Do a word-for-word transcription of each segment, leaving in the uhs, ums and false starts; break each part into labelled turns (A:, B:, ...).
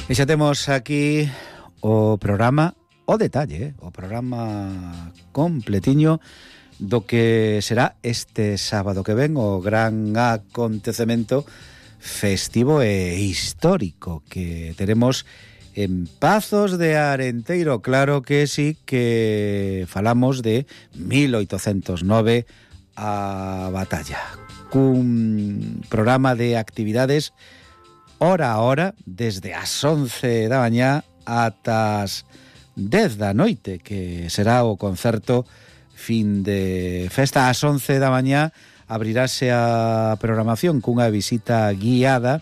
A: E xa temos aquí o programa, o detalle, o programa completiño do que será este sábado que ven o gran acontecemento festivo e histórico que teremos en Pazos de Arenteiro. Claro que sí, que falamos de mil oitocentos nove, a batalla, cun programa de actividades hora a hora, desde as once da mañá ata as dez da noite, que será o concerto fin de festa. Ás once da mañá abrirase a programación cunha visita guiada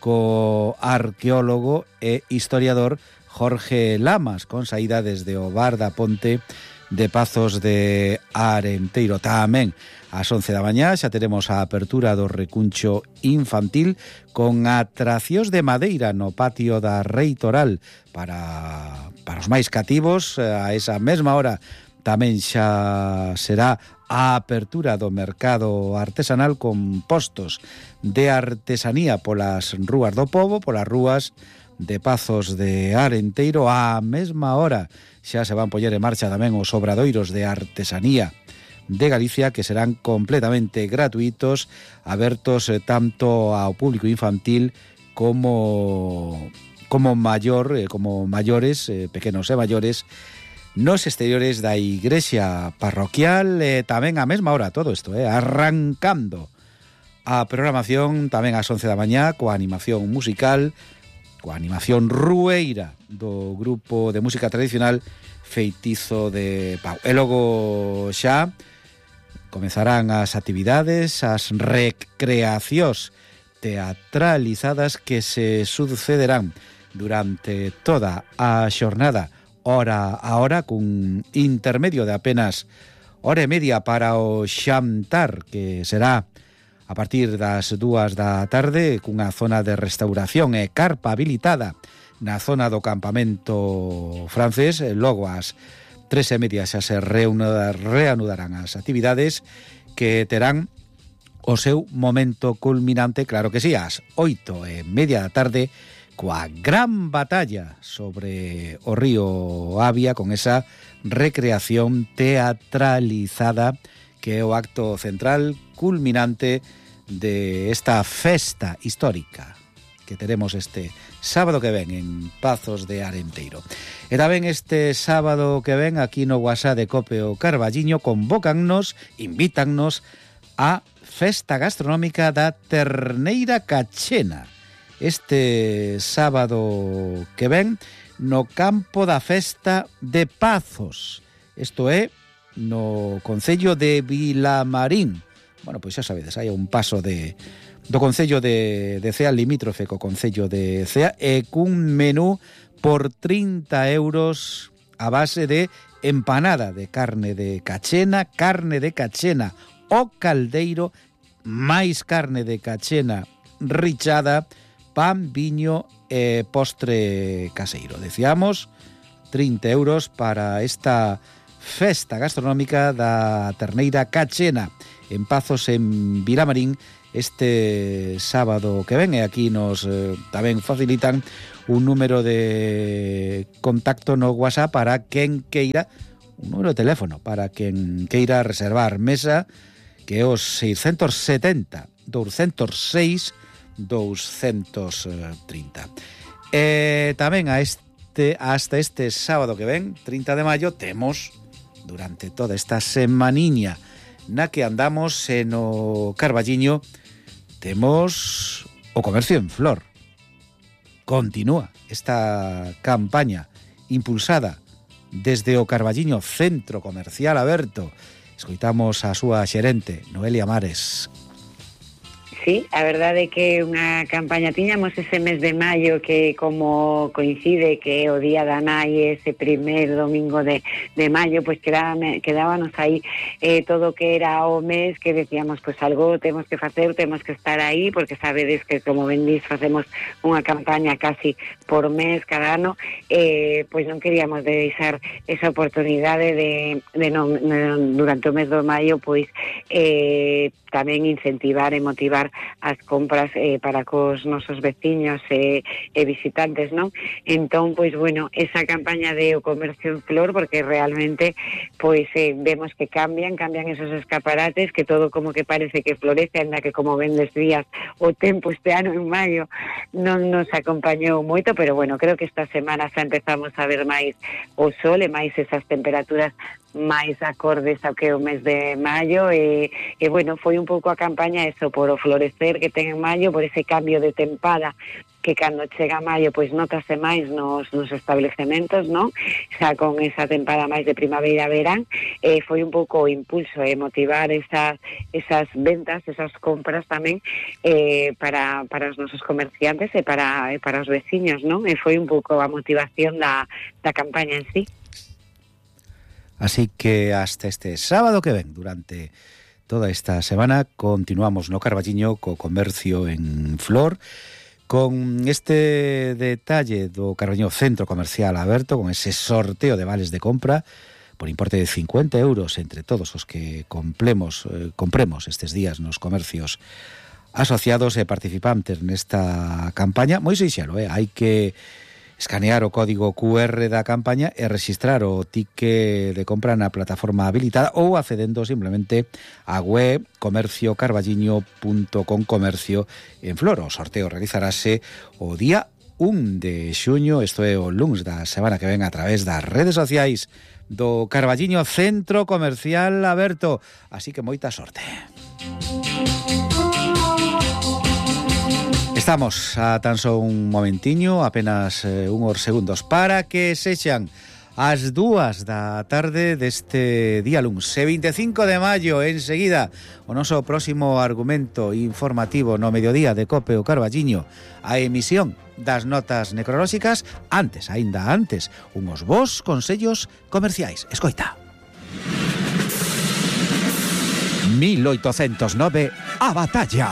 A: co arqueólogo e historiador Jorge Lamas, con saída desde o bar da Ponte de Pazos de Arenteiro. Tamén ás once da mañá xa teremos a apertura do recuncho infantil con atraccións de madeira no patio da Reitoral para, para os máis cativos. A esa mesma hora tamén xa será a apertura do mercado artesanal con postos de artesanía polas rúas do pobo, polas rúas de Pazos de Arenteiro. A mesma hora xa se van poñer en marcha tamén os obradoiros de artesanía de Galicia, que serán completamente gratuitos, abertos eh, tanto ao público infantil como como maior, eh, como maiores, eh, pequenos e maiores, nos exteriores da igrexa parroquial. Eh, tamén a mesma hora todo isto, eh, arrancando a programación tamén ás once da mañá coa animación musical, coa animación rueira do grupo de música tradicional Feitizo de Pau. E logo xa comezarán as actividades, as recreacións teatralizadas que se sucederán durante toda a xornada, hora a hora, cun intermedio de apenas hora e media para o xantar, que será a partir das dúas da tarde, cunha zona de restauración e carpa habilitada na zona do campamento francés. Logo ás tres e media xa se reanudarán as actividades, que terán o seu momento culminante, claro que sí, ás oito e media da tarde, coa gran batalla sobre o río Avia, con esa recreación teatralizada que é o acto central culminante de esta festa histórica que teremos este sábado que ven en Pazos de Arenteiro. E tamén este sábado que ven, aquí no WhatsApp de Cope o Carballiño, convócannos, invítannos a festa gastronómica da Terneira Cachena. Este sábado que ven no campo da festa de Pazos. Isto é no concello de Vilamarín. Bueno, pois xa sabedes, hai un paso de do concello de, de Cea, limítrofe co concello de Cea, e cun menú por trinta euros a base de empanada de carne de cachena, carne de cachena o caldeiro, máis carne de cachena richada, pan, viño e postre caseiro. Decíamos, trinta euros para esta festa gastronómica da Terneira Cachena en Pazos, en Vilamarín, este sábado que ven. E aquí nos eh, tamén facilitan un número de contacto no WhatsApp para quen queira, un número de teléfono para quen queira reservar mesa, que é os seiscentos setenta, douscentos seis, douscentos trinta. E tamén a este, hasta este sábado que ven, trinta de maio, temos durante toda esta semaniña na que andamos en o Carballiño, temos o comercio en flor. Continúa esta campaña impulsada desde o Carballiño Centro Comercial Aberto. Escoitamos a súa xerente, Noelia Mares.
B: Sí, a verdade é que unha campaña tiñamos ese mes de maio que, como coincide que é o día da nai, ese primer domingo de, de maio, pois quedábame, quedábanos aí eh, todo o que era o mes, que decíamos, pois algo temos que facer, temos que estar aí, porque sabedes que, como ben dís, facemos unha campaña casi por mes cada ano, eh, pois non queríamos deixar esa oportunidade de, de non, non, durante o mes do maio, pois eh, tamén incentivar e motivar as compras eh, para cos nosos veciños e, e visitantes, non? Entón, pois, bueno, esa campaña de o comercio en flor, porque realmente, pois, eh, vemos que cambian, cambian esos escaparates, que todo como que parece que florece, anda que como vendes días, o tempo este ano en maio non nos acompañou moito, pero bueno, creo que esta semana xa empezamos a ver máis o sol e máis esas temperaturas máis acordes ao que é o mes de maio e, e bueno, foi un pouco a campaña eso, por o florecer que ten en maio, por ese cambio de tempada que cando chega maio pois notase máis nos, nos establecementos, non? Xa con esa tempada máis de primavera-verán, eh, foi un pouco o impulso e eh, motivar esas, esas ventas, esas compras tamén eh, para, para os nosos comerciantes e para, e para os veciños, non? E foi un pouco a motivación da, da campaña en sí.
A: Así que hasta este sábado que ven, durante toda esta semana, continuamos no Carballiño co comercio en flor, con este detalle do Carballiño Centro Comercial aberto, con ese sorteo de vales de compra por importe de cincuenta euros entre todos os que compremos, eh, compremos estes días nos comercios asociados e participantes nesta campaña. Moi sinxelo, eh? Hai que escanear o código cu erre da campaña e registrar o ticket de compra na plataforma habilitada ou accedendo simplemente á web comercio carballiño punto com comercio en flor. O sorteo realizarase o día un de xuño, isto é o luns da semana que ven, a través das redes sociais do Carballiño Centro Comercial aberto. Así que moita sorte. Estamos a tan só un momentiño, apenas eh, unhos segundos, para que sexan as dúas da tarde deste día luns, e vinte e cinco de maio. Enseguida, o noso próximo argumento informativo no mediodía de Cope o Carballiño, a emisión das notas necrolóxicas. Antes, aínda antes, unhos bons consellos comerciais. Escoita. mil oitocentos nove, a batalla.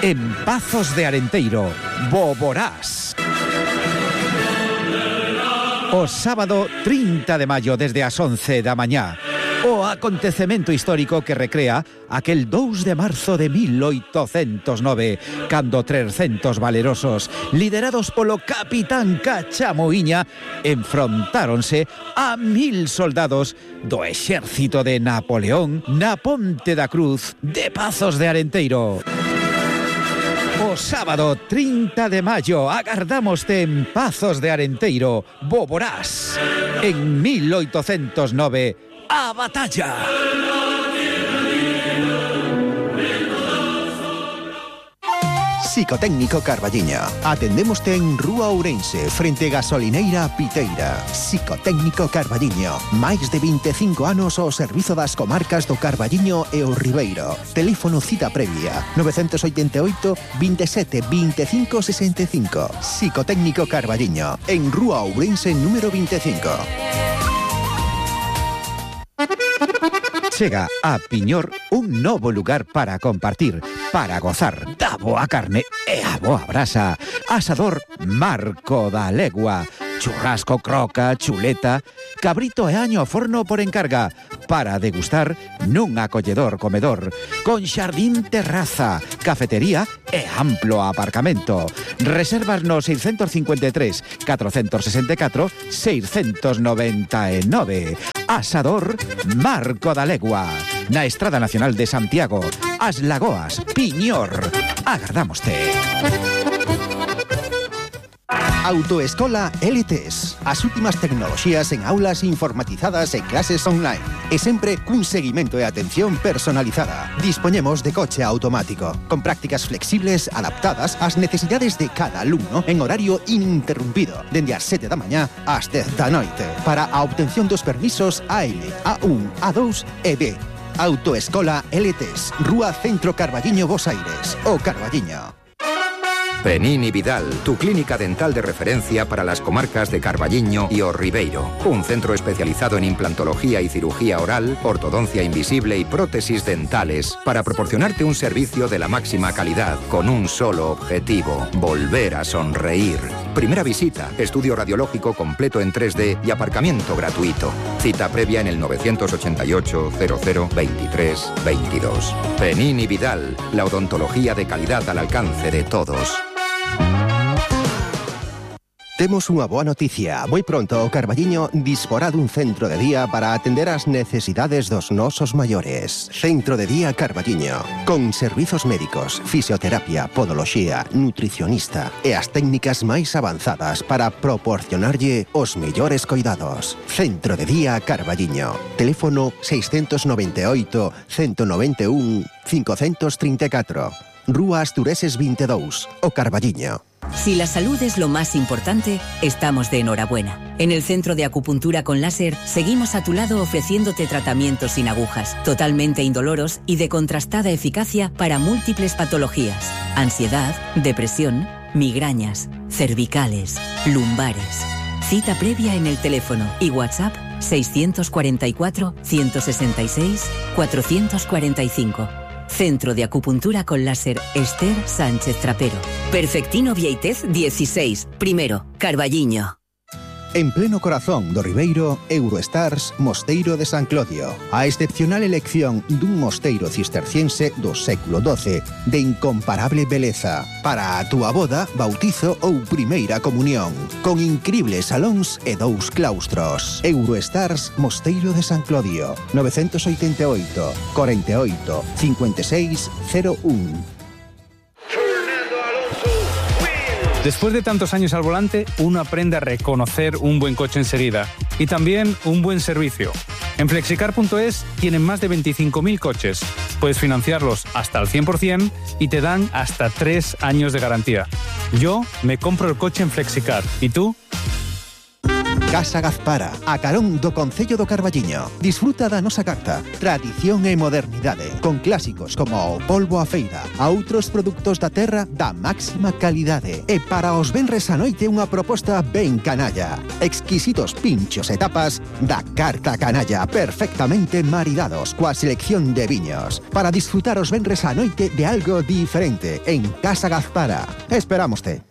A: En Pazos de Arenteiro, Boborás. O sábado trinta de maio desde as once da mañá. O acontecemento histórico que recrea aquel dous de marzo de mil oitocentos nove, cando trescentos valerosos, liderados polo capitán Cachamoiña, enfrontáronse a mil soldados do exército de Napoleón na Ponte da Cruz de Pazos de Arenteiro. O sábado trinta de maio agardámoste en Pazos de Arenteiro, Boborás. En mil oitocentos nove, a batalla.
C: Psicotécnico Carballiño. Atendémoste en Rúa Ourense, frente Gasolineira Piteira. Psicotécnico Carballiño. Máis de vinte e cinco anos ao servizo das comarcas do Carballiño e o Ribeiro. Teléfono cita previa nove oito oito, veintisiete, veinticinco sesenta e cinco. Psicotécnico Carballiño. En Rúa Ourense número veinticinco.
A: Chega a Piñor un novo lugar para compartir, para gozar da boa carne e a boa brasa. Asador Marco da Legua. Churrasco, croca, chuleta, cabrito e año ao forno por encarga, para degustar nun acolledor comedor, con xardín, terraza, cafetería e amplo aparcamento. Reservas no seiscentos cincuenta e tres, catrocentos sesenta e catro, seiscentos noventa e nove. Asador Marco da Legua, na Estrada Nacional de Santiago, As Lagoas, Piñor. Agardámoste.
C: Autoescola L T S. As últimas tecnoloxías en aulas informatizadas e clases online. E sempre cun seguimento e atención personalizada. Dispoñemos de coche automático, con prácticas flexibles adaptadas ás necesidades de cada alumno en horario ininterrumpido, dende as sete da mañá ás dez da noite, para a obtención dos permisos A L, A un, A dous e B. Autoescola L T S. Rúa Centro Carballiño, Bos Aires. O Carballiño.
D: Penini Vidal, tu clínica dental de referencia para las comarcas de Carballiño y O Ribeiro. Un centro especializado en implantología y cirugía oral, ortodoncia invisible y prótesis dentales, para proporcionarte un servicio de la máxima calidad con un solo objetivo: volver a sonreír. Primera visita, estudio radiológico completo en tres D y aparcamiento gratuito. Cita previa en el nueve ocho ocho, cero cero, veintitrés, veintidós. Penin Vidal, la odontología de calidad al alcance de todos.
C: Temos unha boa noticia. Moi pronto o Carballiño disporá dun centro de día para atender as necesidades dos nosos maiores. Centro de Día Carballiño, con servizos médicos, fisioterapia, podoloxía, nutricionista e as técnicas máis avanzadas para proporcionarlle os mellores coidados. Centro de Día Carballiño. Teléfono seiscentos noventa e oito, ciento noventa e un, quinhentos trinta e catro. Rúa Astureses veinte e dous, o Carballiño.
E: Si la salud es lo más importante, estamos de enhorabuena. En el Centro de Acupuntura con Láser seguimos a tu lado ofreciéndote tratamientos sin agujas, totalmente indoloros y de contrastada eficacia para múltiples patologías: ansiedad, depresión, migrañas, cervicales, lumbares. Cita previa en el teléfono y WhatsApp seiscientos cuarenta y cuatro, ciento sesenta y seis, cuatrocientos cuarenta y cinco. Centro de Acupuntura con Láser Esther Sánchez Trapero. Perfectino Vieitez dieciséis, primero, Carballiño.
C: En pleno corazón do Ribeiro, Eurostars Mosteiro de San Clodio. A excepcional elección dun mosteiro cisterciense do século doce, de incomparable beleza, para a túa boda, bautizo ou primeira comunión, con incribles salóns e dous claustros. Eurostars Mosteiro de San Clodio, nove oito oito, cuarenta y ocho, cincuenta y seis, cero uno.
F: Después de tantos años al volante, uno aprende a reconocer un buen coche enseguida y también un buen servicio. En flexicar punto es tienen más de veinticinco mil coches. Puedes financiarlos hasta al cien por ciento y te dan hasta tres años de garantía. Yo me compro el coche en Flexicar. ¿Y tú?
C: Casa Gazpara, a carón do Concello do Carballiño. Disfruta da nosa carta, tradición e modernidade, con clásicos como o polvo a feira, a outros produtos da terra da máxima calidade. E para os venres a noite unha proposta ben canalla. Exquisitos pinchos e tapas da carta canalla, perfectamente maridados coa selección de viños. Para disfrutar os venres a noite de algo diferente en Casa Gazpara. Esperámoste.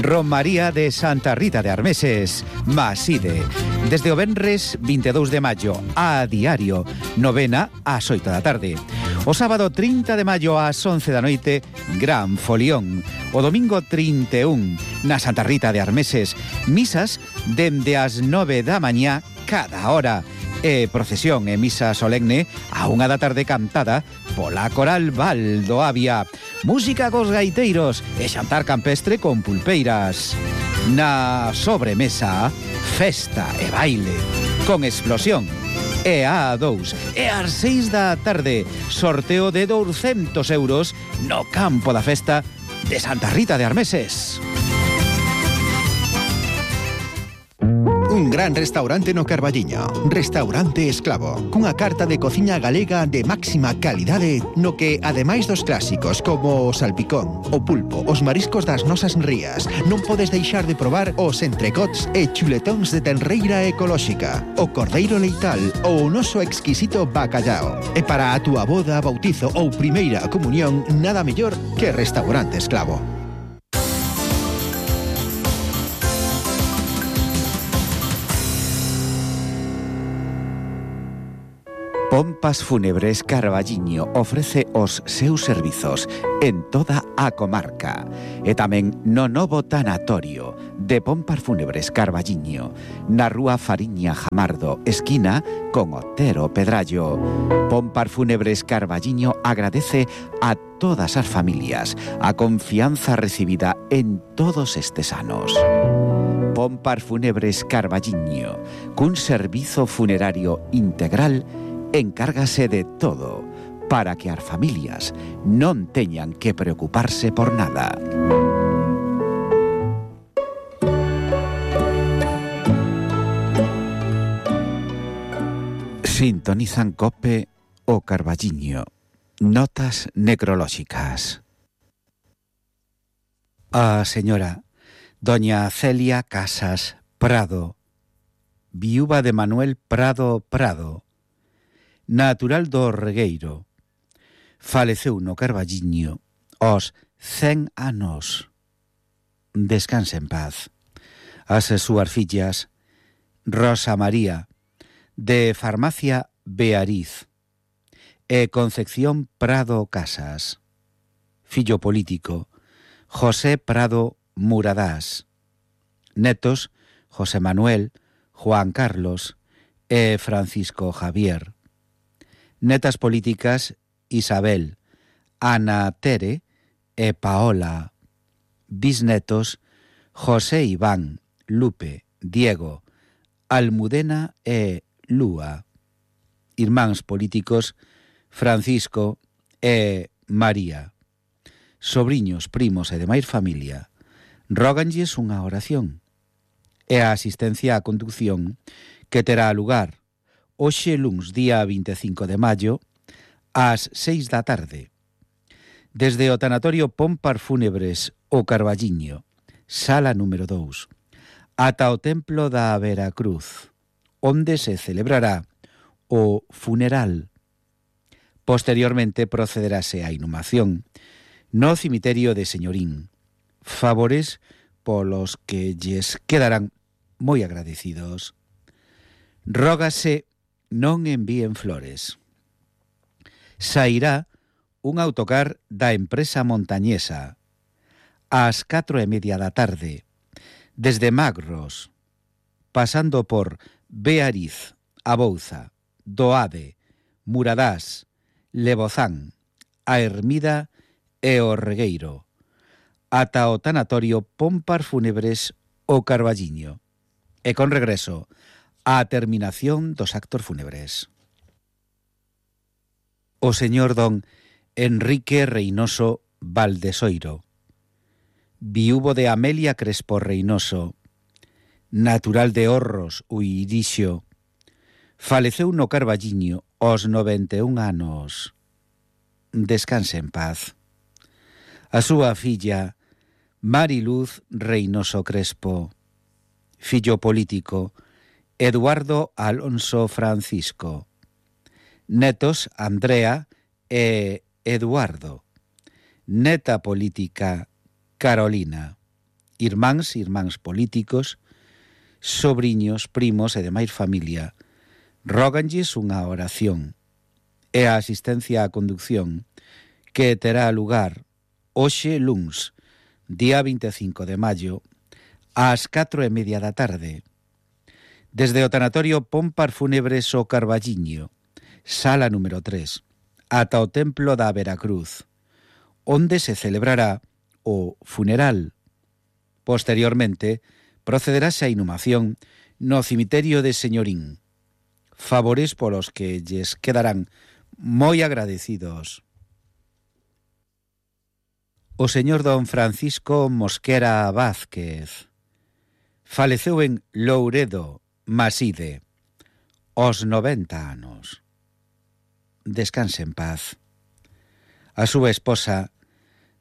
A: Romaría de Santa Rita de Armeses, Maside. Desde o venres vinte e dous de maio a diario, novena ás oito da tarde. O sábado trinta de maio ás once da noite, gran folión. O domingo trinta e un na Santa Rita de Armeses, misas dende as nove da mañá cada hora. E procesión e misa solemne a unha da tarde cantada pola Coral Valdo Avia. Música cos gaiteiros e xantar campestre con pulpeiras. Na sobremesa, festa e baile con explosión. E a dous, e ás seis da tarde, sorteo de douscentos euros no campo da festa de Santa Rita de Armeses.
C: Un gran restaurante no Carballiño, Restaurante Esclavo, cunha carta de cociña galega de máxima calidade, no que, ademais dos clásicos como o salpicón, o pulpo, os mariscos das nosas rías, non podes deixar de probar os entrecots e chuletóns de tenreira ecolóxica, o cordeiro leital ou o noso exquisito bacallao. E para a túa boda, bautizo ou primeira comunión, nada mellor que Restaurante Esclavo.
A: Pompas Fúnebres Carballiño ofrece os seus servizos en toda a comarca e tamén no novo tanatorio de Pompas Fúnebres Carballiño, na rúa Fariña Jamardo, esquina con Otero Pedrallo. Pompas Fúnebres Carballiño agradece a todas as familias a confianza recibida en todos estes anos. Pompas Fúnebres Carballiño, cun servizo funerario integral, encárgase de todo para que as familias non teñan que preocuparse por nada. Sintonizan COPE o Carballiño. Notas necrolóxicas. A señora doña Celia Casas Prado, viúva de Manuel Prado Prado, natural do Regueiro, faleceu no Carballiño aos cen anos. descanse en paz. As súas fillas, Rosa María, de Farmacia Beariz, e Concepción Prado Casas. Fillo político, José Prado Muradás. Netos, José Manuel, Juan Carlos e Francisco Javier. Netas políticas, Isabel, Ana Tere e Paola. Bisnetos, José Iván, Lupe, Diego, Almudena e Lúa. Irmáns políticos, Francisco e María. Sobriños, primos e demais familia, róganlles unha oración e a asistencia á conducción que terá lugar hoxe luns día vinte e cinco de maio ás seis da tarde desde o tanatorio Pompar Fúnebres o Carballiño, sala número dous, ata o templo da Veracruz, onde se celebrará o funeral. Posteriormente procederase a inhumación no cemiterio de Señorín, favores polos que lles quedarán moi agradecidos. Rógase non envíen flores. Sairá un autocar da empresa montañesa ás catro e media da tarde, desde Magros, pasando por Beariz, Abouza, Doade, Muradás, Lebozán, a Hermida e o Regueiro, ata o tanatorio Pompar Fúnebres o Carballiño, e con regreso á terminación dos actos fúnebres. O señor don Enrique Reynoso Valdesoiro, viúvo de Amelia Crespo Reynoso, natural de Horros, Uirixo, faleceu no Carballiño aos noventa e un anos. Descanse en paz. A súa filla, Mariluz Reynoso Crespo, fillo político, Eduardo Alonso Francisco, netos Andrea e Eduardo, neta política Carolina, irmáns, irmáns políticos, sobriños, primos e demais familia, róganlles unha oración e a asistencia á conducción que terá lugar hoxe luns, día vinte e cinco de maio, ás catro e media da tarde, desde o tanatorio Pompar Fúnebres o Carballiño, sala número tres, ata o templo da Veracruz, onde se celebrará o funeral. Posteriormente, procederase a inhumación no cemiterio de Señorín, favores polos que lles quedarán moi agradecidos. O señor don Francisco Mosquera Vázquez faleceu en Louredo, Maside, aos noventa anos. Descanse en paz. A súa esposa,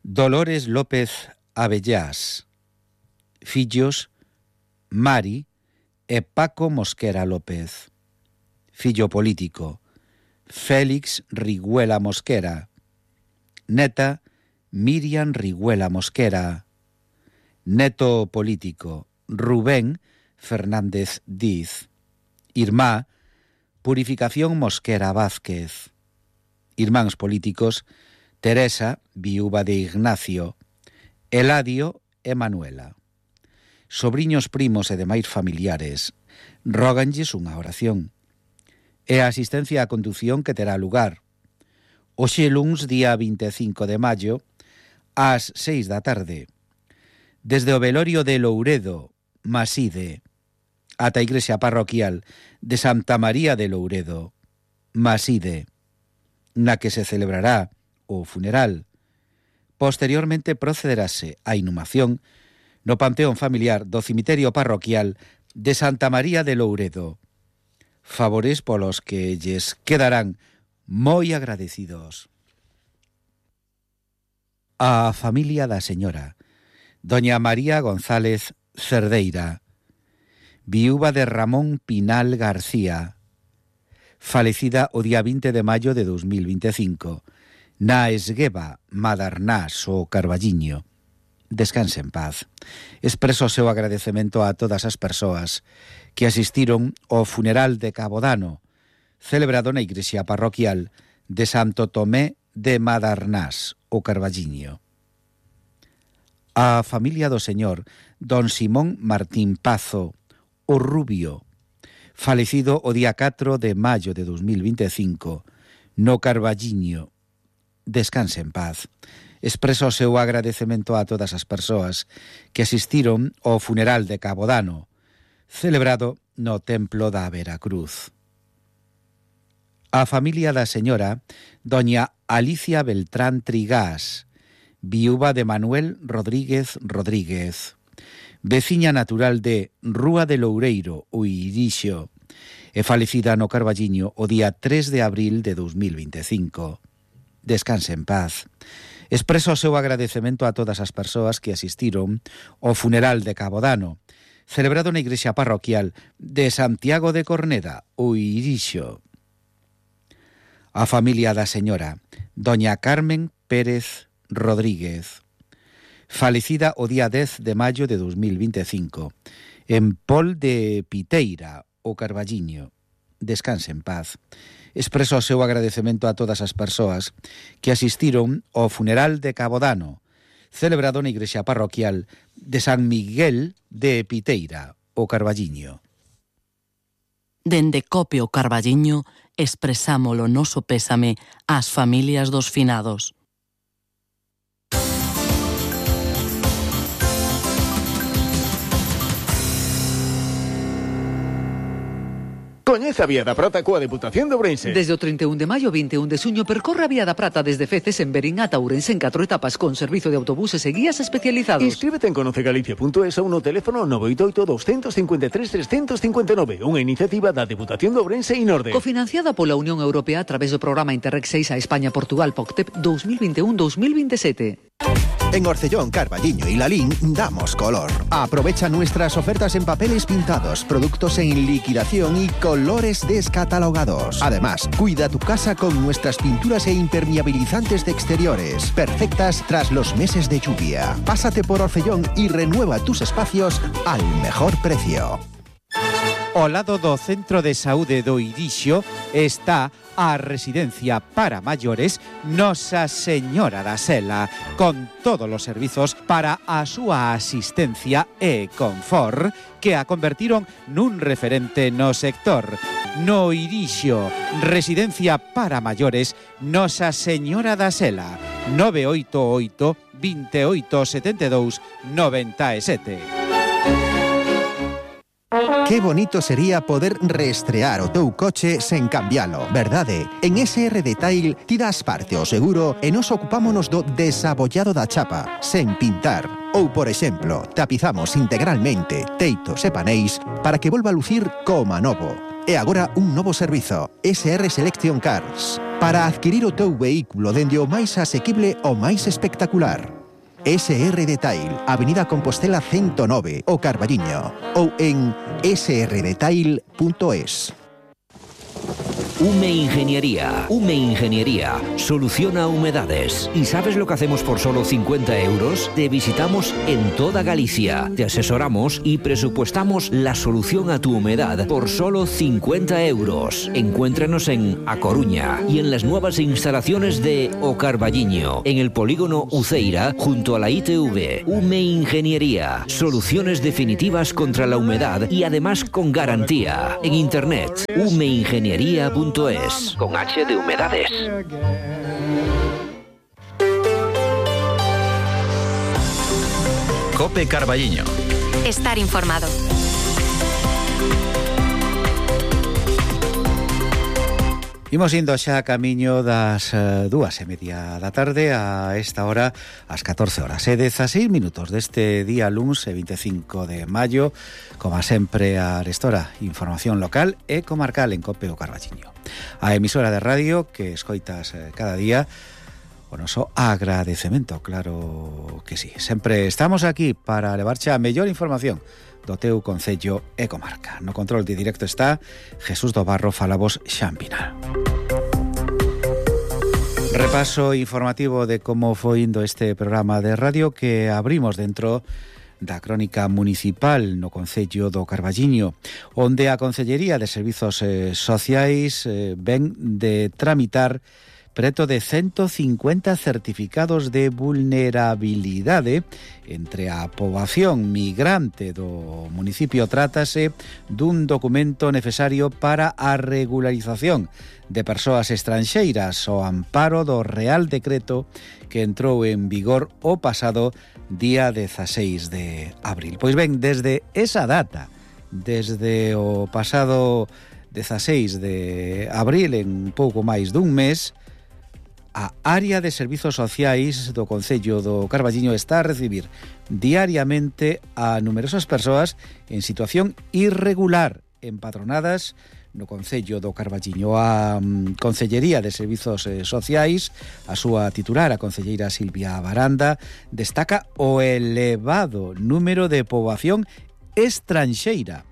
A: Dolores López Abellás, fillos Mari e Paco Mosquera López, fillo político Félix Riguela Mosquera, neta Miriam Riguela Mosquera, neto político Rubén Fernández Diz, irmá Purificación Mosquera Vázquez, irmáns políticos Teresa, viúva de Ignacio, Eladio e Manuela. Sobriños, primos e demais familiares róganlles unha oración e a asistencia á condución que terá lugar hoxe luns día vinte e cinco de maio ás seis da tarde, desde o velorio de Louredo, Maside, ata a igrexa parroquial de Santa María de Louredo, Maside, na que se celebrará o funeral. Posteriormente procederase a inhumación no panteón familiar do cemiterio parroquial de Santa María de Louredo, favores polos que lles quedarán moi agradecidos. A familia da señora doña María González Cerdeira, viúva de Ramón Pinal García, falecida o día vinte de maio de dos mil vinte e cinco, na Esgueva, Madarnás o Carballiño, descanse en paz. Expreso o seu agradecemento a todas as persoas que asistiron ao funeral de Cabodano, celebrado na igrexa parroquial de Santo Tomé de Madarnás, o Carballiño. A familia do señor don Simón Martín Pazo, o Rubio, falecido o día catro de maio de dos mil vinte e cinco, no Carballiño, descanse en paz. Expreso o seu agradecemento a todas as persoas que asistiron ao funeral de Cabodano, celebrado no Templo da Veracruz. A familia da señora doña Alicia Beltrán Trigás, viúva de Manuel Rodríguez Rodríguez, veciña natural de Rúa de Loureiro, o Irixo, e falecida no Carballiño o día tres de abril de dos mil vinte e cinco. Descanse en paz. Expreso o seu agradecemento a todas as persoas que asistiron ao funeral de Cabodano, celebrado na igrexa parroquial de Santiago de Corneda, o Irixo. A familia da señora doña Carmen Pérez Rodríguez, falecida o día dez de maio de dos mil vinte e cinco, en Pol de Piteira, o Carballiño. Descanse en paz. Expreso o seu agradecemento a todas as persoas que asistiron ao funeral de Cabodano, celebrado na igrexa parroquial de San Miguel de Piteira, o Carballiño.
G: Dende Cope o Carballiño expresamos o noso pésame ás familias dos finados.
H: Coñece a Vía da Prata coa Deputación de Ourense.
I: Desde o trinta e un de maio ao vinte e un de suño percorre a Vía da Prata desde Feces en Berín ata Ourense en catro etapas con servizo de autobuses e guías especializados.
H: Inscríbete en conocegalicia punto es ou no teléfono nove oito oito, dos cinco tres, tres cinco cinco nove, unha iniciativa da Deputación de Ourense e Norde.
I: Cofinanciada pola Unión Europea a través do programa Interreg seis a España-Portugal P O C T E P dos mil vinte e un a dos mil veintisiete.
C: En Orcellón, Carballiño y Lalín damos color. Aprovecha nuestras ofertas en papeles pintados, productos en liquidación y colores descatalogados. Además, cuida tu casa con nuestras pinturas e impermeabilizantes de exteriores, perfectas tras los meses de lluvia. Pásate por Orcellón y renueva tus espacios al mejor precio.
A: Ao lado do Centro de Saúde do Irixo está a residencia para maiores Nosa Señora da Sela, con todos os servizos para a súa asistencia e confort que a convertiron nun referente no sector. No Irixo, residencia para maiores Nosa Señora da Sela, nove oito oito, veintiocho setenta e dous, noventa e sete.
C: Qué bonito sería poder reestrear o teu coche sen cambialo, verdade? En S R Detail tiras parte o seguro e nos ocupámonos do desabollado da chapa, sen pintar. Ou, por exemplo, tapizamos integralmente teitos e paneis para que volva a lucir como novo. E agora un novo servizo, S R Selection Cars, para adquirir o teu vehículo dende o máis asequible ao máis espectacular. S R Detail, Avenida Compostela ciento nove, o Carballiño, ou en s r detail punto es.
J: Ume Ingeniería. Ume Ingeniería soluciona humedades. ¿Y sabes lo que hacemos por solo cincuenta euros? Te visitamos en toda Galicia, te asesoramos y presupuestamos la solución a tu humedad por solo cincuenta euros. Encuéntranos en A Coruña y en las nuevas instalaciones de O Carballiño, en el polígono Uceira, junto a la I T V. Ume Ingeniería, soluciones definitivas contra la humedad y además con garantía. En internet, ume ingeniería punto es, con H de humedades.
K: Cope Carballiño.
L: Estar informado.
A: Imos indo xa a camiño das uh, dúas e media da tarde, a esta hora, ás catorce horas e dezaseis minutos deste día luns e veinticinco de maio, como sempre a restora información local e comarcal en Cope o Carballiño. A emisora de radio que escoitas eh, cada día, o noso agradecemento, claro que sí. Sempre estamos aquí para levarche a mellor información do teu concello e comarca. No control de directo está Jesús do Barro, falabos Xampinal. Repaso informativo de como foi indo este programa de radio que abrimos dentro da crónica municipal no Concello do Carballiño, onde a Concellería de Servizos eh, Sociais eh, ven de tramitar preto de ciento cincuenta certificados de vulnerabilidade entre a poboación migrante do municipio. Trátase dun documento necesario para a regularización de persoas estranxeiras ao amparo do Real Decreto que entrou en vigor o pasado día dezaseis de abril. Pois ben, desde esa data, desde o pasado dezaseis de abril, en pouco máis dun mes, a área de servizos sociais do Concello do Carballiño está a recibir diariamente a numerosas persoas en situación irregular empadronadas no Concello do Carballiño. A um, Concellería de Servizos eh, Sociais, a súa titular, a concelleira Silvia Baranda, destaca o elevado número de poboación estranxeira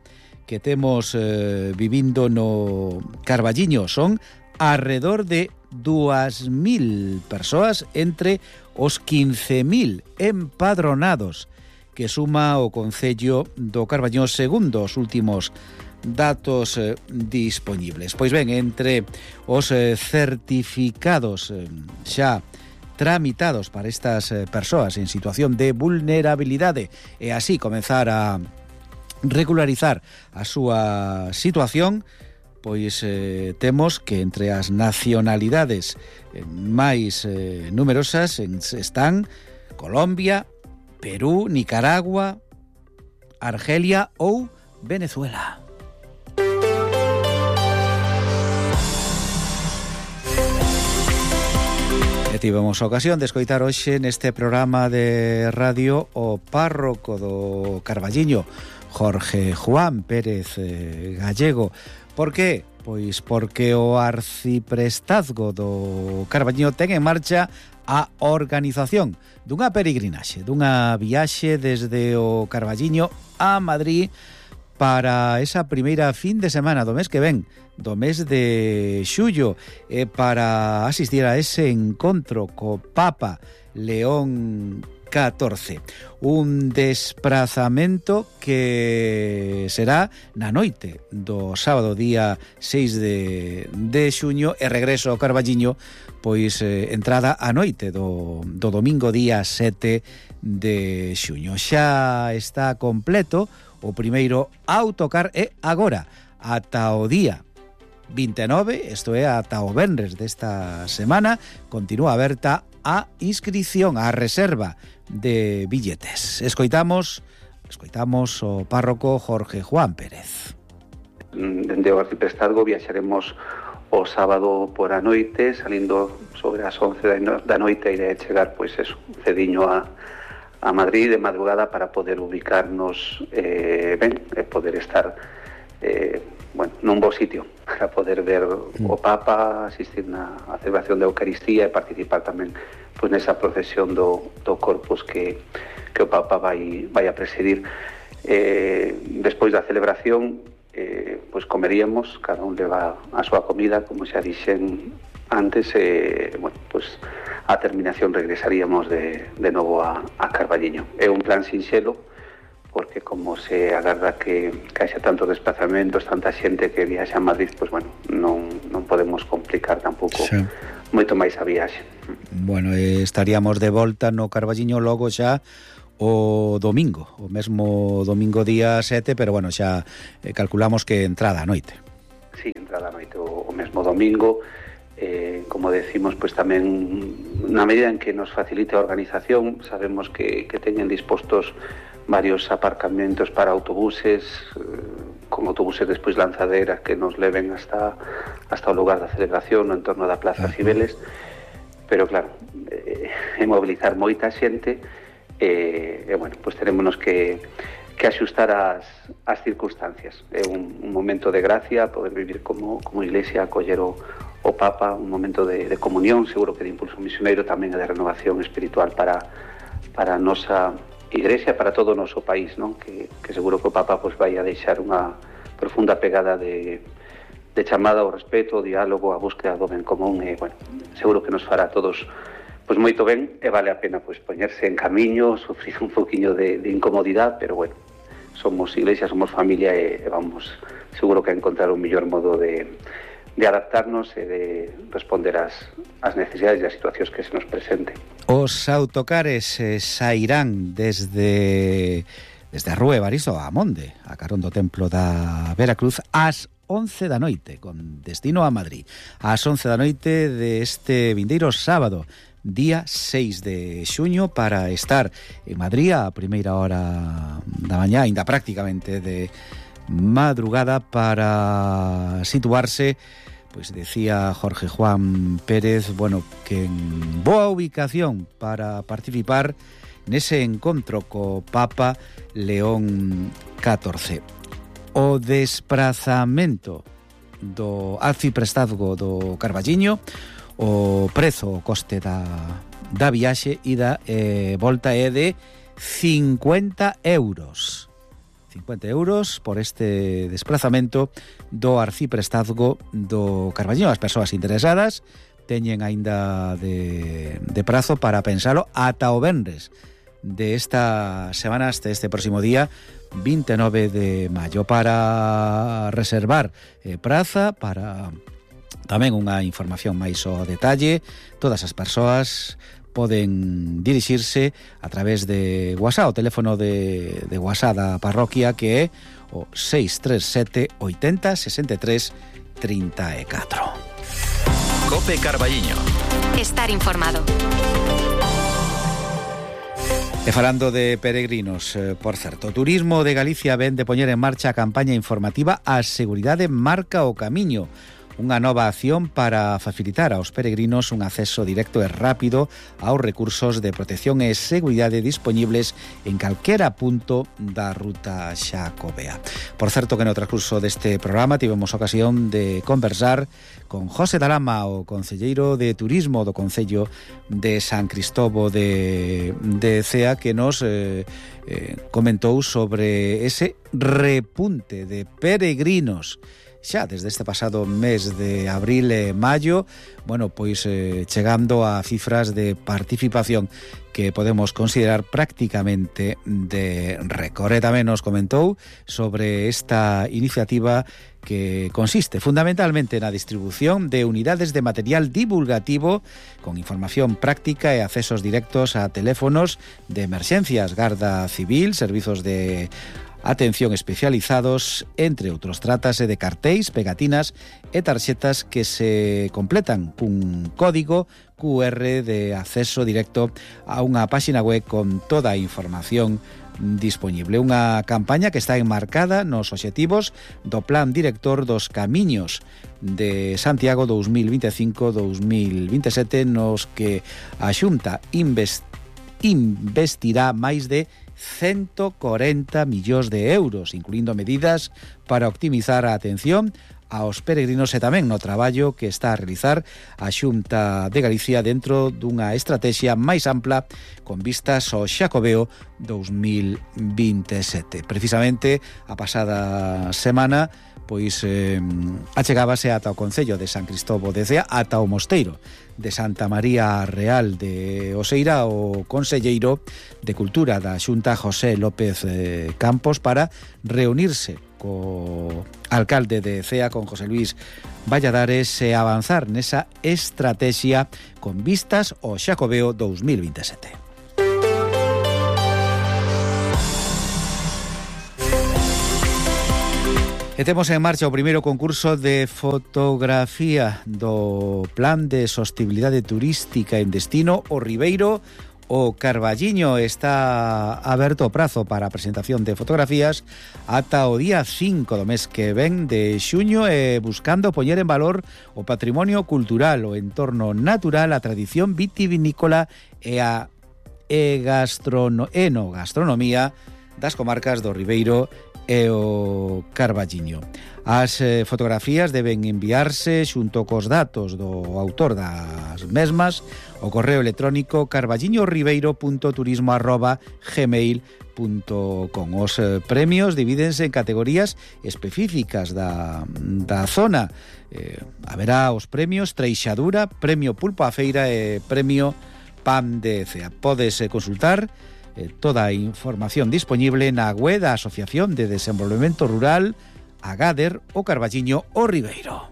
A: que temos eh, vivindo no Carballiño. Son alrededor de dúas mil persoas entre os quince mil empadronados que suma o Concello do Carballiño segundo os últimos datos eh, dispoñibles. Pois ben, entre os eh, certificados eh, xa tramitados para estas eh, persoas en situación de vulnerabilidade e así comenzar a regularizar a súa situación, pois eh, temos que entre as nacionalidades eh, máis eh, numerosas en, están Colombia, Perú, Nicaragua, Argelia ou Venezuela. E tivemos a ocasión de escoitar hoxe neste programa de radio o párroco do Carballiño, Jorge Juan Pérez eh, Gallego. Por que? Pois porque o arciprestazgo do Carballiño ten en marcha a organización dunha peregrinaxe, dunha viaxe desde o Carballiño a Madrid para esa primeira fin de semana do mes que ven, do mes de xullo, e para asistir a ese encontro co Papa León catorce. Un desprazamento que será na noite do sábado día seis de, de xuño e regreso ao Carballiño pois eh, entrada a noite do, do domingo día sete de xuño. Xa está completo o primeiro autocar e agora ata o día vinte e nove, isto é ata o venres desta semana, continúa aberta a inscripción, a reserva de billetes. Escoitamos, escoitamos o párroco Jorge Juan Pérez.
K: Dende o arciprestazgo viaxaremos o sábado por a noite, salindo sobre as once da noite, iré chegar pois eso, cediño a, a Madrid de madrugada para poder ubicarnos eh, ben, e poder estar eh, bueno, nun bo sitio para poder ver o Papa, asistir na a celebración da Eucaristía e participar tamén pois nesa procesión do, do Corpus que, que o Papa vai, vai a presidir. Eh, despois da celebración eh, pois comeríamos, cada un leva a súa comida, como xa dixen antes, e eh, bueno, pois a terminación regresaríamos de, de novo a, a Carballiño. É un plan sinxelo, porque como se agarda que, que haxa tantos desplazamentos, tanta xente que viaxa a Madrid, pois bueno, non, non podemos complicar tampouco sí. moito máis a viaxe.
A: Bueno, eh, estaríamos de volta no Carballiño logo xa o domingo, o mesmo domingo día sete, pero bueno, xa eh, calculamos que entrada a noite.
K: Sí, entrada a noite o, o mesmo domingo. Eh, como decimos, pues tamén na medida en que nos facilite a organización, sabemos que, que teñen dispostos varios aparcamentos para autobuses, eh, con autobuses despois lanzaderas que nos leven hasta hasta o lugar da celebración no entorno da Plaza uh-huh. Cibeles, pero claro, eh, é mobilizar moita xente e, eh, bueno, pues terémonos que que axustar as, as circunstancias. É un, un momento de gracia poder vivir como, como iglesia, acoller o, o Papa, un momento de, de comunión, seguro que de impulso misioneiro, tamén de renovación espiritual para, para a nosa iglesia, para todo o noso país, non? Que, que seguro que o Papa pues, vai a deixar unha profunda pegada de, de chamada ao respeto, ao diálogo, a búsqueda do ben común, e, bueno, seguro que nos fará a todos pois moito ben, e vale a pena pois poñerse en camiño, sufrir un poquinho de, de incomodidade, pero bueno, somos iglesia, somos familia e, e vamos seguro que a encontrar un mellor modo de, de adaptarnos e de responder ás, ás necesidades e ás situacións que se nos presenten.
A: Os autocares eh, sairán desde desde a Rúa Evaristo a Monde, a carón do Templo da Veracruz, ás once da noite, con destino a Madrid. Ás once da noite deste vindeiro sábado, día seis de xuño, para estar en Madrid a primeira hora da mañá, ainda prácticamente de madrugada, para situarse, pois decía Jorge Juan Pérez, bueno, que en boa ubicación para participar nese encontro co Papa León catorce. O desprazamento do arciprestazgo do Carballiño, o prezo, o coste da, da viaxe ida e volta é de cincuenta euros. cincuenta euros por este desplazamento do arciprestazgo do Carballiño. As persoas interesadas teñen aínda de, de prazo para pensalo ata o venres de esta semana, hasta este próximo día vinte e nove de maio, para reservar eh, praza, para tamén unha información máis ao detalle. Todas as persoas poden dirixirse a través de WhatsApp, o teléfono de, de WhatsApp da parroquia, que é o seis tres sete oitenta sesenta e tres trinta e catro.
L: Cope Carballiño.
M: Estar informado.
A: E falando de peregrinos, eh, por certo, o Turismo de Galicia ven de poñer en marcha a campaña informativa A Seguridade Marca o Camiño, unha nova acción para facilitar aos peregrinos un acceso directo e rápido aos recursos de protección e seguridade dispoñibles en calquera punto da ruta xacobea. Por certo que no transcurso deste programa tivemos ocasión de conversar con José Dalama, o concelleiro de Turismo do Concello de San Cristóbal de, de Cea, que nos eh, eh, comentou sobre ese repunte de peregrinos xa desde este pasado mes de abril e maio, bueno, pois eh, chegando a cifras de participación que podemos considerar prácticamente de récord. E tamén nos comentou sobre esta iniciativa que consiste fundamentalmente na distribución de unidades de material divulgativo con información práctica e accesos directos a teléfonos de emerxencias, Garda Civil, servizos de atención especializados, entre outros. Trátase de cartéis, pegatinas e tarxetas que se completan cun código Q R de acceso directo a unha páxina web con toda a información dispoñible. Unha campaña que está enmarcada nos obxectivos do Plan Director dos Camiños de Santiago dous mil vinte e cinco a dous mil vinte e sete, nos que a Xunta invest, investirá máis de ciento cuarenta millóns de euros, incluindo medidas para optimizar a atención aos peregrinos e tamén no traballo que está a realizar a Xunta de Galicia dentro dunha estrategia máis ampla con vistas ao Xacobeo dous mil vinte e sete. Precisamente a pasada semana pois eh, achegábase ata o Concello de San Cristóbal de Cea, ata o Mosteiro de Santa María Real de Oseira, o conselleiro de Cultura da Xunta, José López eh, Campos, para reunirse co alcalde de Cea, con José Luis Valladares, e avanzar nesa estrategia con vistas ao Xacobeo dous mil vinte e sete. E temos en marcha o primeiro concurso de fotografía do Plan de Sostibilidade Turística en destino o Ribeiro o Carballiño. Está aberto o prazo para a presentación de fotografías ata o día cinco do mes que ven de xuño, e buscando poñer en valor o patrimonio cultural, o entorno natural, a tradición vitivinícola e a e gastrono, enogastronomía das comarcas do Ribeiro e o Carballiño. As eh, fotografías deben enviarse xunto cos datos do autor das mesmas ao correo electrónico carballiñoribeiro punto turismo arroba gmail punto com. Os eh, premios divídense en categorías específicas da, da zona. Eh, haberá os premios Treixadura, Premio Pulpo a Feira e Premio Pan de Cea. Podes eh, consultar eh, toda a información disponible na web da Asociación de Desenvolvemento Rural Agader o Carballiño o Ribeiro.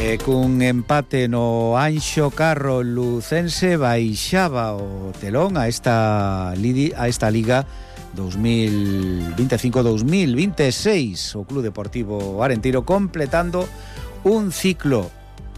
A: E cun empate no Anxo Carro lucense baixaba o telón a esta, a esta Liga dos mil veinticinco dos mil veintiséis. O Club Deportivo Arenteiro completando un ciclo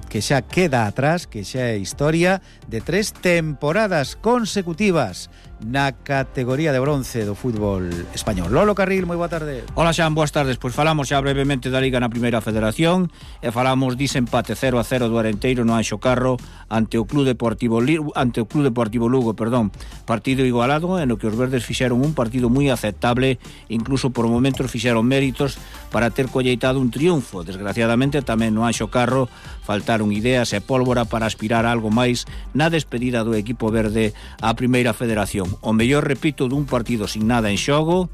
A: que xa queda atrás, que xa é historia de tres temporadas consecutivas na categoría de bronce do fútbol español. Lolo Carril, moi boa tarde.
N: Hola Xan, boas tardes. Pois falamos xa brevemente da Liga na Primeira Federación e falamos dise empate cero a cero do Arenteiro no Anxo Carro ante o Club Deportivo ante o Club Deportivo Lugo, perdón. Partido igualado en o que os verdes fixeron un partido moi aceptable, incluso por momentos fixeron méritos para ter colleitado un triunfo. Desgraciadamente tamén no Anxo Carro faltaron ideas e pólvora para aspirar a algo máis na despedida do equipo verde á Primeira Federación. O mellor, repito, dun partido sin nada en xogo,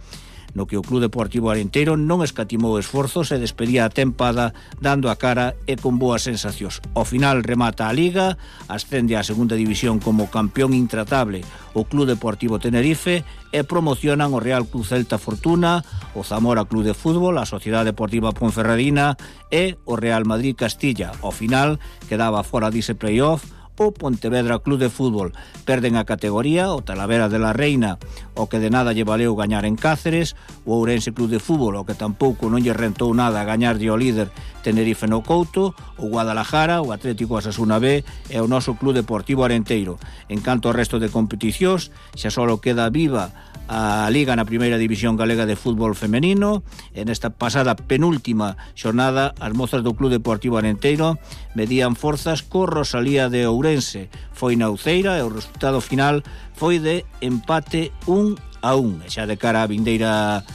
N: no que o Club Deportivo Arenteiro non escatimou esforzos e despedía a tempada dando a cara e con boas sensacións. Ao final remata a Liga, ascende á segunda división como campeón intratable o Club Deportivo Tenerife e promocionan o Real Club Celta Fortuna, o Zamora Club de Fútbol, a Sociedade Deportiva Ponferradina e o Real Madrid Castilla. Ao final quedaba fora dise playoff o Pontevedra Club de Fútbol. Perden a categoría o Talavera de la Reina, o que de nada lle valeu gañar en Cáceres, o Ourense Club de Fútbol, o que tampouco non lle rentou nada gañar de o líder Tenerife no Couto, o Guadalajara, o Atlético Asasuna B e o noso Club Deportivo Arenteiro. En canto ao resto de competicións, xa só queda viva a Liga na Primeira División Galega de Fútbol Femenino. En esta pasada penúltima xornada, as mozas do Club Deportivo Arenteiro medían forzas co Rosalía de Ourense. Foi na Uceira e o resultado final foi de empate un a un. E xa de cara a vindeira,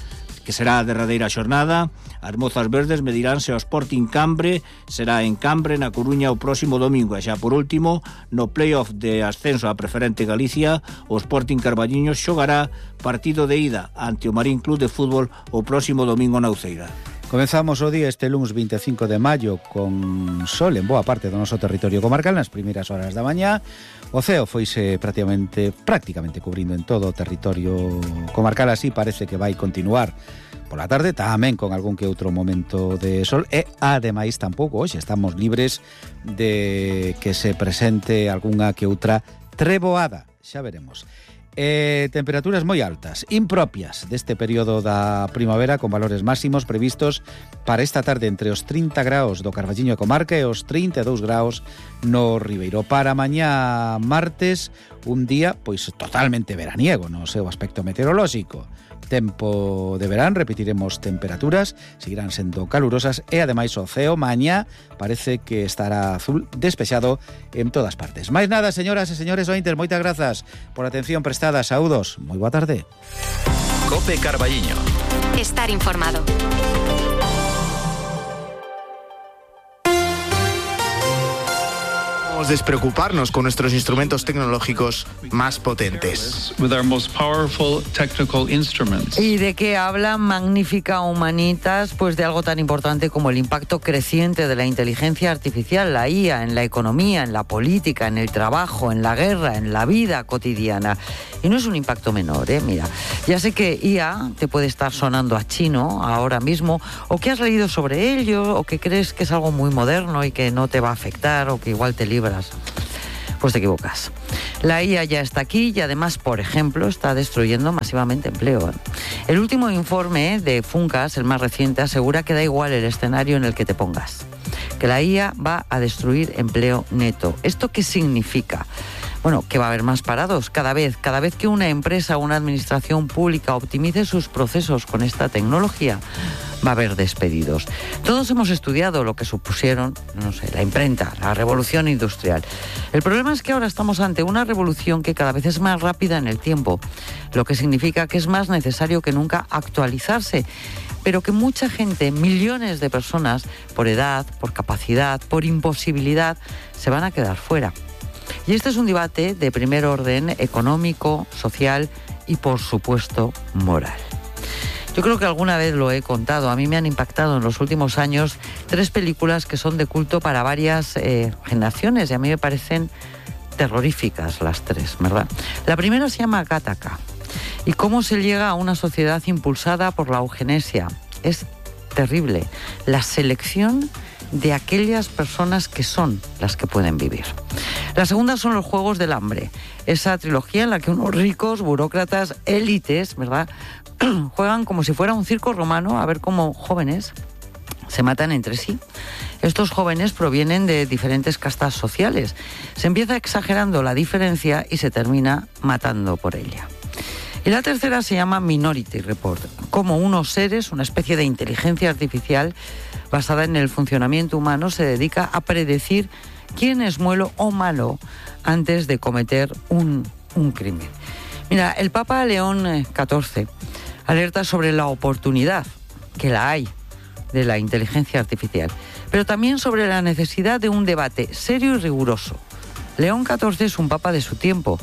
N: que será a derradeira xornada, as mozas verdes mediránse ao Sporting Cambre, será en Cambre, na Coruña, o próximo domingo. E xa por último, no playoff de ascenso a Preferente Galicia, o Sporting Carballiño xogará partido de ida ante o Marín Club de Fútbol o próximo domingo na Uceira.
A: Comenzamos o día este luns vinte e cinco de maio con sol en boa parte do noso territorio comarcal nas primeiras horas da mañá. O ceo foise prácticamente, prácticamente cubrindo en todo o territorio comarcal, así parece que vai continuar pola tarde, tamén con algún que outro momento de sol e, ademais, tampouco hoxe estamos libres de que se presente algunha que outra treboada, xa veremos. Eh, temperaturas moi altas, impropias deste período da primavera, con valores máximos previstos para esta tarde entre os trinta graus do Carballiño e comarca e os trinta e dous graus no Ribeiro. Para mañá martes, un día pois totalmente veraniego no seu aspecto meteorolóxico. Tempo de verán, repetiremos temperaturas, seguirán sendo calurosas e ademais o ceo mañá parece que estará azul despexado en todas partes. Máis nada, señoras e señores ointes, moitas grazas por a atención prestada. Saúdos, moi boa tarde.
L: Cope Carballiño.
M: Estar informado.
O: Despreocuparnos con nuestros instrumentos tecnológicos más potentes.
P: ¿Y de qué habla Magnífica Humanitas? Pues de algo tan importante como el impacto creciente de la inteligencia artificial, la I A, en la economía, en la política, en el trabajo, en la guerra, en la vida cotidiana. Y no es un impacto menor, ¿eh? Mira, ya sé que I A te puede estar sonando a chino ahora mismo, o que has leído sobre ello, o que crees que es algo muy moderno y que no te va a afectar, o que igual te libras. Pues te equivocas. La I A ya está aquí y además, por ejemplo, está destruyendo masivamente empleo. El último informe de Funcas, el más reciente, asegura que da igual el escenario en el que te pongas, que la I A va a destruir empleo neto. ¿Esto qué significa? Bueno, que va a haber más parados cada vez, cada vez que una empresa o una administración pública optimice sus procesos con esta tecnología, va a haber despedidos. Todos hemos estudiado lo que supusieron, no sé, la imprenta, la revolución industrial. El problema es que ahora estamos ante una revolución que cada vez es más rápida en el tiempo, lo que significa que es más necesario que nunca actualizarse, pero que mucha gente, millones de personas, por edad, por capacidad, por imposibilidad, se van a quedar fuera. Y este es un debate de primer orden económico, social y, por supuesto, moral. Yo creo que alguna vez lo he contado. A mí me han impactado en los últimos años tres películas que son de culto para varias eh, generaciones y a mí me parecen terroríficas las tres, ¿verdad? La primera se llama Gattaca y cómo se llega a una sociedad impulsada por la eugenesia. Es terrible. La selección de aquellas personas que son las que pueden vivir. La segunda son los Juegos del Hambre, esa trilogía en la que unos ricos, burócratas, élites, ¿verdad?, juegan como si fuera un circo romano a ver cómo jóvenes se matan entre sí. Estos jóvenes provienen de diferentes castas sociales. Se empieza exagerando la diferencia y se termina matando por ella. Y la tercera se llama Minority Report, como unos seres, una especie de inteligencia artificial basada en el funcionamiento humano, se dedica a predecir quién es bueno o malo antes de cometer un, un crimen. Mira, el Papa León catorce alerta sobre la oportunidad, que la hay, de la inteligencia artificial, pero también sobre la necesidad de un debate serio y riguroso. León catorce es un papa de su tiempo.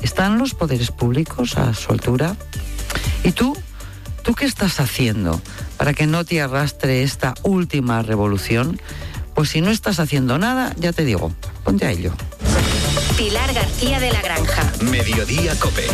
P: ¿Están los poderes públicos a su altura? ¿Y tú? ¿Tú qué estás haciendo para que no te arrastre esta última revolución? Pues si no estás haciendo nada, ya te digo, ponte a ello.
M: Pilar García de la Granja.
L: Mediodía COPE.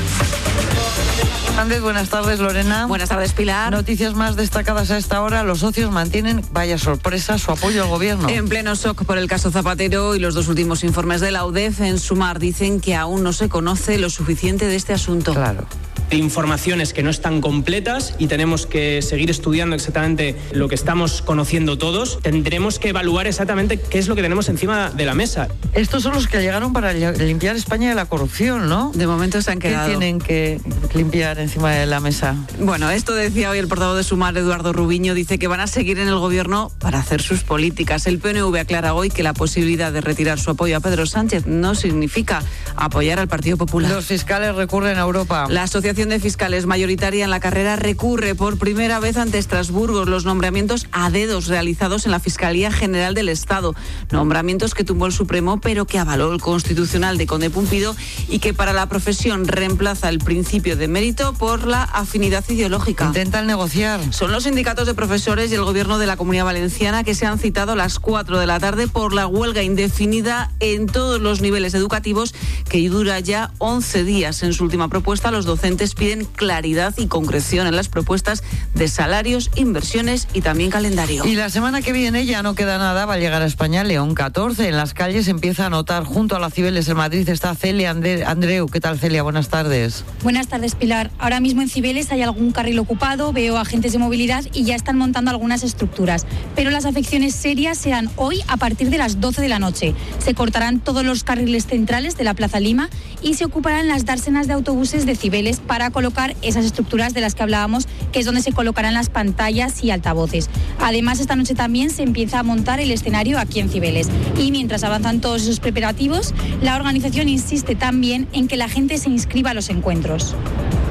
P: Andrés, buenas tardes, Lorena.
Q: Buenas tardes, Pilar.
P: Noticias más destacadas a esta hora. Los socios mantienen, vaya sorpresa, su apoyo al gobierno.
Q: En pleno shock por el caso Zapatero y los dos últimos informes de la U D E F, en Sumar dicen que aún no se conoce lo suficiente de este asunto.
P: Claro.
R: Informaciones que no están completas y tenemos que seguir estudiando exactamente lo que estamos conociendo todos. Tendremos que evaluar exactamente qué es lo que tenemos encima de la mesa.
P: Estos son los que llegaron para limpiar España de la corrupción, ¿no?
Q: De momento se han quedado.
P: ¿Qué tienen que limpiar encima de la mesa?
Q: Bueno, esto decía hoy el portavoz de Sumar, Eduardo Rubiño, dice que van a seguir en el gobierno para hacer sus políticas. El P N V aclara hoy que la posibilidad de retirar su apoyo a Pedro Sánchez no significa apoyar al Partido Popular.
P: Los fiscales recurren a Europa.
Q: La Asociación de Fiscales mayoritaria en la carrera recurre por primera vez ante Estrasburgo los nombramientos a dedos realizados en la Fiscalía General del Estado. Nombramientos que tumbó el Supremo, pero que avaló el Constitucional de Conde Pumpido y que para la profesión reemplaza el principio de mérito por la afinidad ideológica.
P: Intentan negociar.
Q: Son los sindicatos de profesores y el Gobierno de la Comunidad Valenciana que se han citado a las cuatro de la tarde por la huelga indefinida en todos los niveles educativos que dura ya once días. En su última propuesta, los docentes piden claridad y concreción en las propuestas de salarios, inversiones y también calendario.
P: Y la semana que viene ya no queda nada, va a llegar a España León catorce. En las calles se empieza a notar, junto a la Cibeles en Madrid está Celia Andreu. ¿Qué tal, Celia? Buenas tardes.
S: Buenas tardes, Pilar. Ahora mismo en Cibeles hay algún carril ocupado, veo agentes de movilidad y ya están montando algunas estructuras. Pero las afecciones serias serán hoy a partir de las doce de la noche. Se cortarán todos los carriles centrales de la Plaza Lima y se ocuparán las dársenas de autobuses de Cibeles para colocar esas estructuras de las que hablábamos, que es donde se colocarán las pantallas y altavoces. Además, esta noche también se empieza a montar el escenario aquí en Cibeles. Y mientras avanzan todos esos preparativos, la organización insiste también en que la gente se inscriba a los encuentros.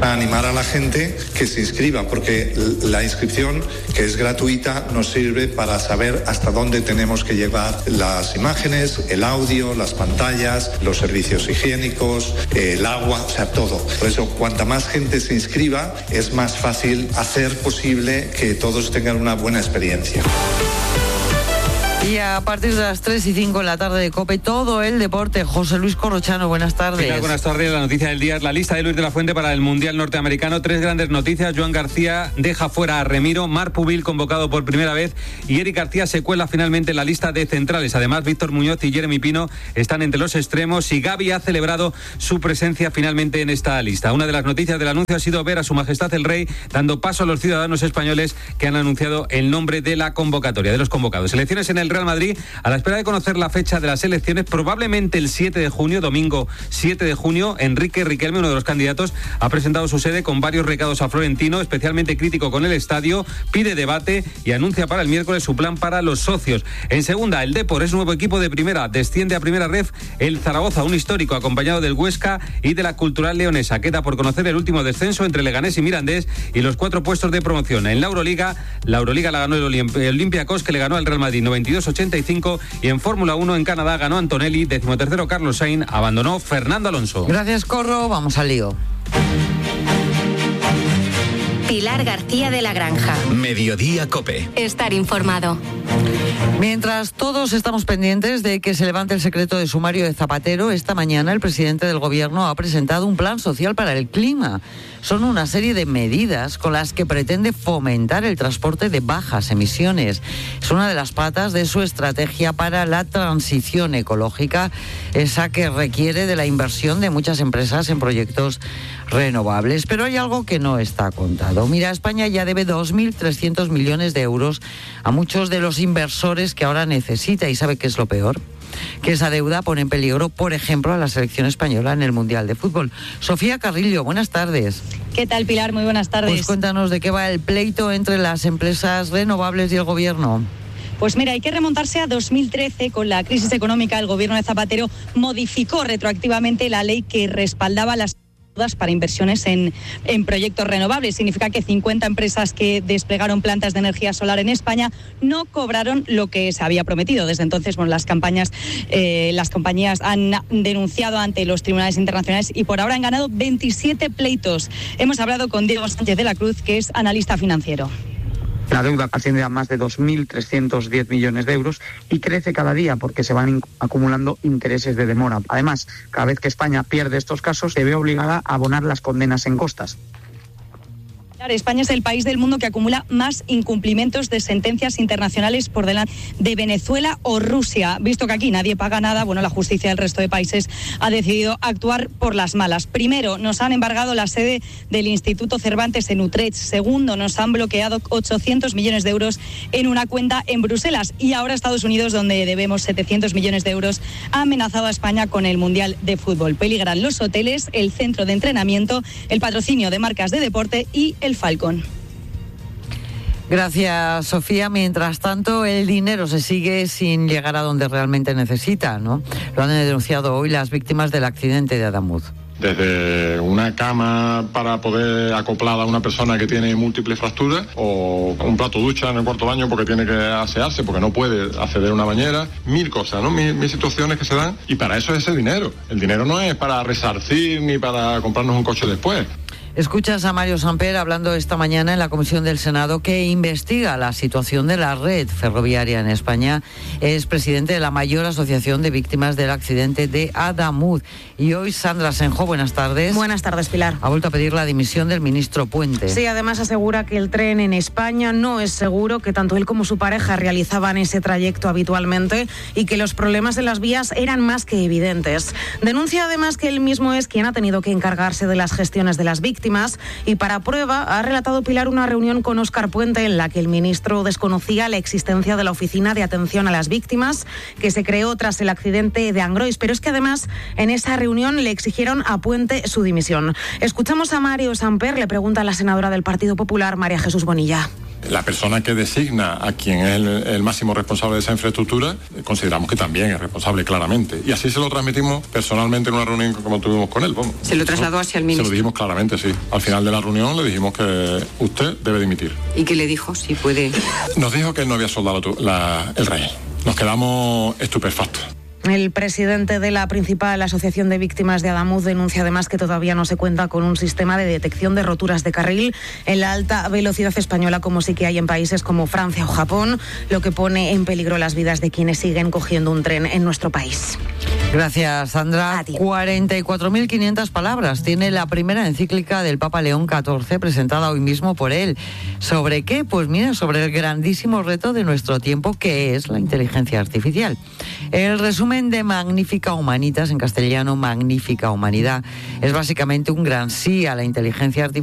T: A animar a la gente que se inscriba, porque la inscripción, que es gratuita, nos sirve para saber hasta dónde tenemos que llevar las imágenes, el audio, las pantallas, los servicios higiénicos, el agua, o sea, todo. Por eso, cuanta más gente se inscriba, es más fácil hacer posible que todos tengan una buena experiencia.
P: Y a partir de las tres y cinco en la tarde de COPE, todo el deporte. José Luis Corrochano, buenas tardes.
F: Pilar, buenas tardes. La noticia del día es la lista de Luis de la Fuente para el Mundial Norteamericano. Tres grandes noticias. Joan García deja fuera a Remiro, Marc Pubil convocado por primera vez y Eric García se cuela finalmente en la lista de centrales. Además, Víctor Muñoz y Jeremy Pino están entre los extremos y Gavi ha celebrado su presencia finalmente en esta lista. Una de las noticias del anuncio ha sido ver a Su Majestad el Rey dando paso a los ciudadanos españoles que han anunciado el nombre de la convocatoria, de los convocados. Elecciones en el
U: el Real Madrid a la espera de conocer la fecha de las elecciones, probablemente el siete de junio, domingo siete de junio. Enrique Riquelme, uno de los candidatos, ha presentado su sede con varios recados a Florentino, especialmente crítico con el estadio, pide debate y anuncia para el miércoles su plan para los socios. En segunda, el Depor es nuevo equipo de primera, desciende a primera ref el Zaragoza, un histórico acompañado del Huesca y de la Cultural Leonesa. Queda por conocer el último descenso entre Leganés y Mirandés y los cuatro puestos de promoción. En la Euroliga, la Euroliga la ganó el Olympiacos, que le ganó al Real Madrid noventa y dos a ochenta y cinco, y en Fórmula uno en Canadá ganó Antonelli, decimotercero Carlos Sainz, abandonó Fernando Alonso.
P: Gracias, Corro, vamos al lío.
M: Pilar García de la Granja.
L: Mediodía Cope.
M: Estar informado.
P: Mientras todos estamos pendientes de que se levante el secreto de sumario de Zapatero, esta mañana el presidente del Gobierno ha presentado un plan social para el clima. Son una serie de medidas con las que pretende fomentar el transporte de bajas emisiones. Es una de las patas de su estrategia para la transición ecológica, esa que requiere de la inversión de muchas empresas en proyectos renovables. Pero hay algo que no está contado. Mira, España ya debe dos mil trescientos millones de euros a muchos de los inversores que ahora necesita. ¿Y sabe qué es lo peor? Que esa deuda pone en peligro, por ejemplo, a la selección española en el Mundial de Fútbol. Sofía Carrillo, buenas tardes.
V: ¿Qué tal, Pilar? Muy buenas tardes.
P: Pues cuéntanos de qué va el pleito entre las empresas renovables y el Gobierno.
V: Pues mira, hay que remontarse a dos mil trece. Con la crisis económica, el Gobierno de Zapatero modificó retroactivamente la ley que respaldaba las para inversiones en, en proyectos renovables. Significa que cincuenta empresas que desplegaron plantas de energía solar en España no cobraron lo que se había prometido. Desde entonces, bueno, las campañas, eh, las compañías han denunciado ante los tribunales internacionales y por ahora han ganado veintisiete pleitos. Hemos hablado con Diego Sánchez de la Cruz, que es analista financiero.
W: La deuda asciende a más de dos mil trescientos diez millones de euros y crece cada día porque se van acumulando intereses de demora. Además, cada vez que España pierde estos casos, se ve obligada a abonar las condenas en costas.
V: España es el país del mundo que acumula más incumplimientos de sentencias internacionales por delante de Venezuela o Rusia. Visto que aquí nadie paga nada, bueno, la justicia del resto de países ha decidido actuar por las malas. Primero, nos han embargado la sede del Instituto Cervantes en Utrecht. Segundo, nos han bloqueado ochocientos millones de euros en una cuenta en Bruselas. Y ahora Estados Unidos, donde debemos setecientos millones de euros, ha amenazado a España con el Mundial de Fútbol. Peligran los hoteles, el centro de entrenamiento, el patrocinio de marcas de deporte y el Falcon.
P: Gracias, Sofía. Mientras tanto, el dinero se sigue sin llegar a donde realmente necesita, ¿no? Lo han denunciado hoy las víctimas del accidente de Adamuz.
X: Desde una cama para poder acoplar a una persona que tiene múltiples fracturas, o un plato ducha en el cuarto baño porque tiene que asearse, porque no puede acceder a una bañera, mil cosas, ¿no? Mil, mil situaciones que se dan, y para eso es ese dinero. El dinero no es para resarcir ni para comprarnos un coche después.
P: Escuchas a Mario Samper hablando esta mañana en la Comisión del Senado que investiga la situación de la red ferroviaria en España. Es presidente de la mayor asociación de víctimas del accidente de Adamuz. Y hoy Sandra Senjo, buenas tardes.
Y: Buenas tardes, Pilar.
P: Ha vuelto a pedir la dimisión del ministro Puente.
Y: Sí, además asegura que el tren en España no es seguro, que tanto él como su pareja realizaban ese trayecto habitualmente y que los problemas en las vías eran más que evidentes. Denuncia además que él mismo es quien ha tenido que encargarse de las gestiones de las víctimas. Y para prueba ha relatado Pilar una reunión con Óscar Puente en la que el ministro desconocía la existencia de la Oficina de Atención a las Víctimas que se creó tras el accidente de Angrois. Pero es que además en esa reunión le exigieron a Puente su dimisión. Escuchamos a Mario Samper, le pregunta a la senadora del Partido Popular, María Jesús Bonilla.
X: La persona que designa a quien es el, el máximo responsable de esa infraestructura, consideramos que también es responsable claramente. Y así se lo transmitimos personalmente en una reunión como tuvimos con él. Vamos.
Y: ¿Se lo trasladó hacia el ministro?
X: Se lo dijimos claramente, sí. Al final de la reunión le dijimos que usted debe dimitir.
Y: ¿Y qué le dijo? Si puede...
X: Nos dijo que él no había soldado la, el rey. Nos quedamos estupefactos.
Y: El presidente de la principal asociación de víctimas de Adamuz denuncia además que todavía no se cuenta con un sistema de detección de roturas de carril en la alta velocidad española, como sí que hay en países como Francia o Japón, lo que pone en peligro las vidas de quienes siguen cogiendo un tren en nuestro país.
P: Gracias, Sandra. cuarenta y cuatro mil quinientas palabras tiene la primera encíclica del Papa León catorce, presentada hoy mismo por él. ¿Sobre qué? Pues mira, sobre el grandísimo reto de nuestro tiempo, que es la inteligencia artificial. El resumen de Magnífica Humanitas, en castellano Magnífica Humanidad, es básicamente un gran sí a la inteligencia artificial